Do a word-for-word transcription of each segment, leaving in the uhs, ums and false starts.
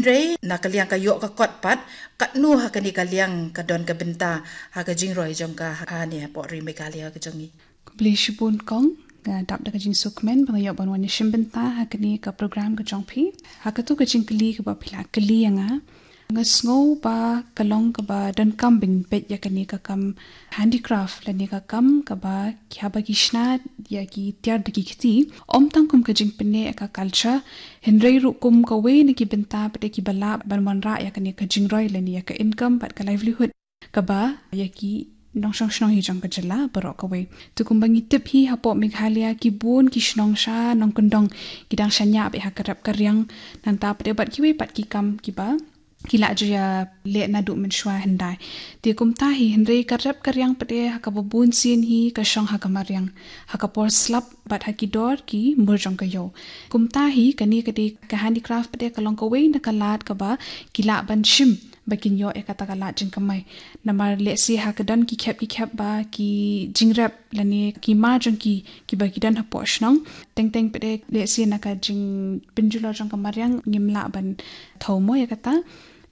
Hynrei na ka liang ka ïoh ka kot pat, katno ha kane ka liang ka don ka bynta ha ka jingroi jong ka ha ne hapoh ri Meghalaya ka jong ngi? Khublei shibun kong, nga dap da ka jingsngewkmen ba nga ïoh ban wan ïashim bynta ha kane ka program ka jong phi. Ha kato ka jingkylli kaba phi la kylli ïa nga, nga sngew ba ka long kaba donkam ban peit ïa kane ka kam handicraft lane ka kam kaba ki haba ki shna ïa ki tiar da ki kti, ym tang kum ka jingpynneh ïa ka culture, hynrei ruh kum kawei na ki bynta pat ki ba lah ban wanrah ïa kane ka jingroi lane ïa ka income bad ka livelihood kaba ïa ki nongshong shnong hi jong ka jylla baroh kawei. Te kumba ngi tip hi hapoh Meghalaya ki bun ki shnong sha nongkyndong ki dang shaniah beit ha ka rep ka riang, nangta pat bad kiwei pat ki kam kiba ki la ju ïaleh naduh mynshuwa hyndai. Te kumta hi hynrei ka rep ka riang pat ha kaba bun sien hi ka shong ha ka mariang, ha ka por slap bad ha ki dor ki mur jong ka ïew. Kumta hi kane ka dei ka handicraft pat ka long kawei na ka lad kaba ki lah ban shim ba kin ïoh ïa kata ka lad jingkamai. Namar lehse ha ka don ki khep ki khep ba ki jingrep lane ki mar jong ki kiba ki don hapoh shnong, teng teng pat lehse na ka jingpynjulor jong ka mariang ngim lah ban thew mo ïa kata.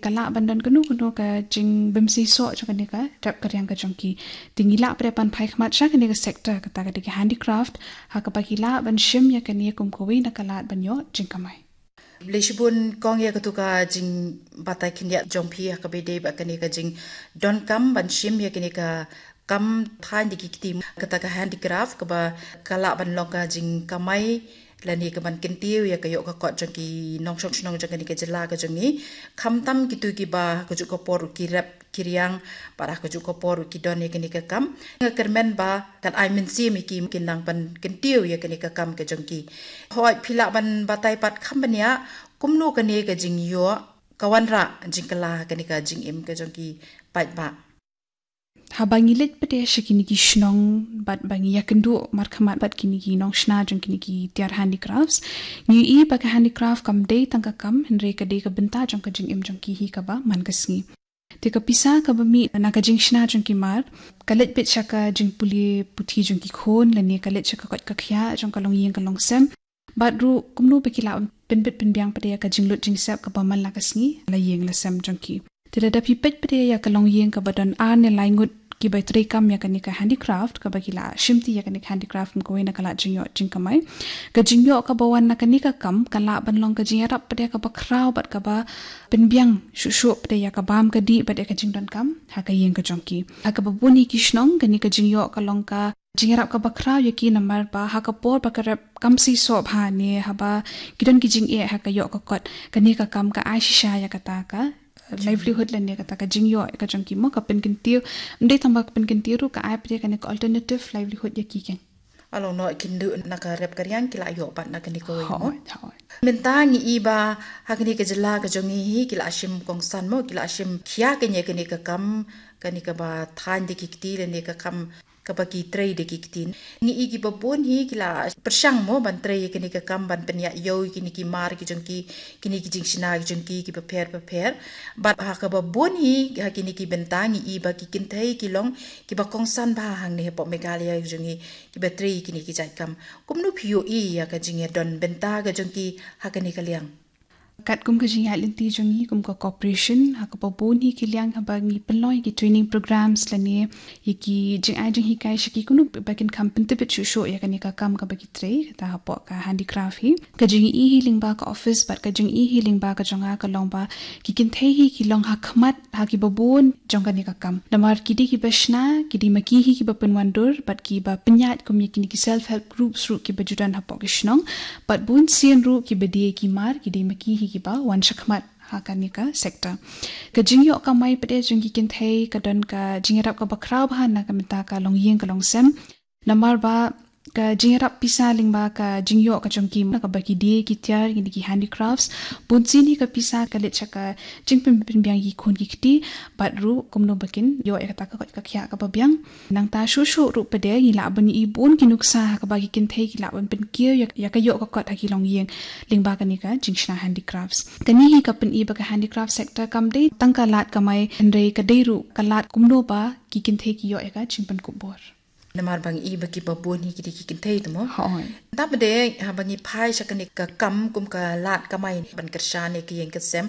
Ka lah ban don kano kano ka jingbymseisoh jong kane ka rep ka riang ka jong ki. Te ngi lah pat ban phai khmat sha kane ka sector kata ka dei ka handicraft ha kaba ki lah ban shim ïa kane kum kawei na ka lad ban ïoh jingkamai. Khublei shibun kong ïa kato ka jingbatai khyndiat jong phi ha kaba ïadei bad kane ka jingdonkam ban shim ïa kane ka kam thaiñ da ki kti, kata ka handicraft kaba ka lah ban long ka jingkamai lane ka ban kyntiew ïa ka ïoh ka kot jong ki nongshong shnong jong kane ka jylla ka jong ngi. Khamtam kito kiba ha kajuh ka por ki rep ki riang bad ha kajuh ka por ki don ïa kane ka kam, nga kyrmen ba kan ai mynsiem ïa ki kin nang ban kyntiew ïa kane ka kam ka jong ki. Hooid, phi lah ban batai pat kham bniah kumno kane ka jingïoh ka wanrah jingkylla kane ka jingim ka jong ki paidbah? Haba ngi leit pat sha kine ki shnong bad ba ngi ïakynduh markhmat bad kine ki nongshna jong kine ki tiar handicrafts, ngi i ba ka handicraft kam dei tang ka kam hynrei ka dei ka bynta jong ka jingim jong ki hi kaba man ka sngi. Te ka pisa kaba mih na ka jingshna jong ki mar ka leit beit sha ka jingpule puthi jong ki khun lane ka leit sha ka koit ka khiah jong ka longïing ka longsem. Bad ruh kumno ba ki lah pynbit pynbiang pat ïa ka jinglut jingsep kaba man la ka sngi la ïing la sem jong ki. Te lada phi peit pat ïa ka longïing kaba don ar ne lai ngut kiba trei kam ïa kane ka handicraft kaba ki la shimti ïa kane ka handicraft kum kawei na ka lad jingïoh jingkamai. Ka jingïoh kaba wan na kane ka kam ka lah ban long ka jingïarap pat ïa kaba khraw bad kaba pynbiang shuh shuh pat ïa ka bam ka dih bad ïa ka jingdonkam ha ka ïing ka jong ki. Ha kaba bun hi ki shnong kane ka jingïoh ka long ka jingïarap kaba khraw ïa ki namar ba ha ka por ba ka rep kam seisoh bha ne haba ki don ki jingeh ha ka ïoh ka kot, kane ka kam ka ai shisha ïa kata ka livelihood lane kata ka jingïoh ka jong ki mo, ka pynkyntiew. Ym dei tang ba ka pynkyntiew ruh, ka ai pat ïa kane ka alternative livelihood ïa ki keiñ. Along noh kin duh na ka rep ka riang ki la ïoh pat na kane kawei mo. Hooid, hooid. Mynta ngi i ba ha kane ka jylla ka jong ngi hi ki la shim kongsan mo, ki la shim khia kane, kane ka kam, kane kaba thaiñ da ki kti lane ka kam kaba ki trei da ki kti. Ngi i kiba bun hi ki la pyrshang mo ban trei ïa kane ka kam ban pynïaid ïew ïa kine ki mar ki jong ki, kine ki jingshna ki jong ki kiba pher bapher. Bad ha kaba bun hi ha kine ki bynta ngi i ba ki kynthei ki long kiba kongsan bha hangne hapoh Meghalaya ki jong ngi kiba trei ïa kine ki jait kam. Kumno phi ïohi ïa ka jingïadon bynta ka jong ki ha kane ka liang? Katkum ka jingïaid lynti jong ngi kum ka corporation, ha kaba bun hi ki liang haba ngi pynlong ïa ki training programs lane ïa ki jingai jinghikai sha ki, kumno ba kin kham pyntbit shuh shuh ïa kane ka kam kaba ki trei, kata hapoh ka handicraft hi. Ka jingïohi hi lyngba ka office bad ka jingïohi hi lyngba ka jong nga ka long ba ki kynthei hi ki long ha khmat ha kiba bun jong kane ka kam. Namar ki dei kiba shna, ki dei ma ki hi kiba pynwandur bad kiba pynïaid kum ïa kine ki self help groups ruh kiba ju don hapoh ki shnong. Bad bun sien ruh kiba die ki mar ki dei ma ki hi kiba wan shakhmat ha kane ka sector. Ka jingïoh kamai pat jong ki kynthei ka don ka jingïarap kaba khraw bha na ka bynta ka longïing ka longsem. Namar ba ka jingïarap pisa lyngba ka jingïoh ka jong ki na kaba ki die ki tiar kine ki handicrafts, bun sien hi ka pisa ka leit sha ka jingpynbiang ïa ki khun ki kti bad ruh kumno ba kin ïoh ïa kata ka koit ka khiah kaba biang. Nangta shuh shuh ruh pat ngi lah ban i bun ki nuksa ha kaba ki kynthei ki lah ban pynkiew ïa, ïa ka ïoh ka kot ha ki longïing lyngba kane ka jingshna handicrafts. Kane hi ka pyni ba ka handicraft sector kam dei tang ka lad kamai hynrei ka dei ruh ka lad kumno ba ki kynthei ki ïoh ïa ka jingpynkup bor. Namar ba ngi i ba ki ba bun hi ki dei ki kynthei te mo. Hooid. Tang ba dei ha ba ngi phai sha kane ka kam kum ka lad kamai ban kyrshan ïa ki ïing ki sem.